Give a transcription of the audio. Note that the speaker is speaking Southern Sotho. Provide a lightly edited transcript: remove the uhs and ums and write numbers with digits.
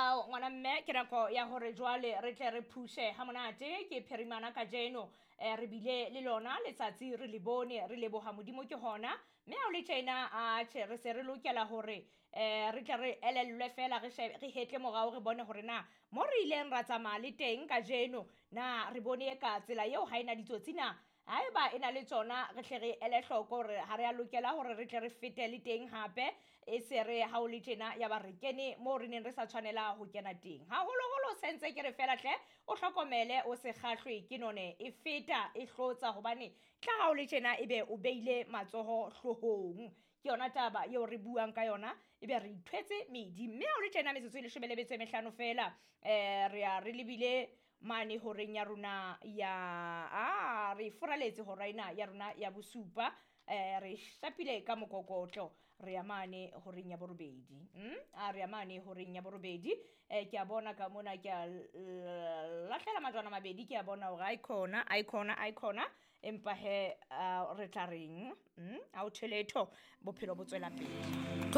Ao ngwana mme, ke nako ya hore jwale re tle re phushe ha monate. Ke phirimana kajeno, re bile le lona letsatsi, re le bone, re leboha Modimo ke hona. Mme ha o le tjena, atjhe, re se re lokela hore re tle re elellwe fela, re shebe, re hetle morao, re bone hore na mo re ileng ra tsamaya le teng kajeno, na re bone ka tsela eo ha ena ditsotsi na. Haeba e na le tsona, re hle re ele hloko hore ha re a lokela hore re tle re fete le teng hape, e se re ha o le tjena ya ba re kene moo re neng re sa tshwanela ho kena teng. Haholoholo sentse ke re fela hle, o hlokomele, o se kgahlwe ke none e feta e hlotsa, hobane tla ha o le tjena ebe o beile matsoho hloohong. Ke yona taba eo re buang ka yona, ebe re ithwetse medi. Mme ha o le tjena metsotso e 15 feela, re ya re lebile mane horeng ya rona ya, a re furaletse hora ena ya rona ya bosupa, re shapile ka mokokotlo, re ya mane horeng ya borobedi. A re ya mane horeng ya borobedi. Ke a bona ka mona, ke a lahlela majwana mabedi, ke a bona hore aikhona, aikhona, aikhona, empa he, re tla reng? A o theletho, bophelo bo tswela pele.